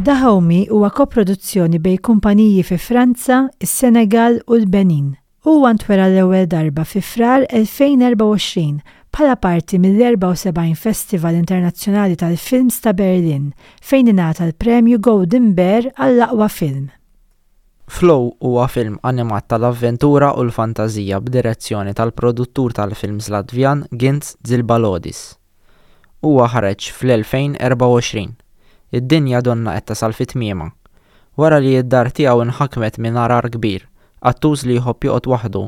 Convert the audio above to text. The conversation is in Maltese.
Dahomey huwa koproduzzjoni bejn kumpaniji fi Franza, is-Senegal u l-Benin. Huwa ntwera l-ewwel darba fi Frar 2024 bħala parti mill-74 Festival Internazzjonali tal-Films ta' Berlin fejn ingħata l-Premju Golden Bear għall-aqwa film. Flow huwa film animat tal-avventura u l-fantażija b'direzzjoni tal-produttur tal-films Latvjan Gints Zilbalodis. Huwa ħareġ fl-2024. Id-dinja donnha qed tasal fi tmiemha. Wara li d-dar tiegħu nħakmet minn għargħar kbir, qattus li jħobb joqgħod waħdu.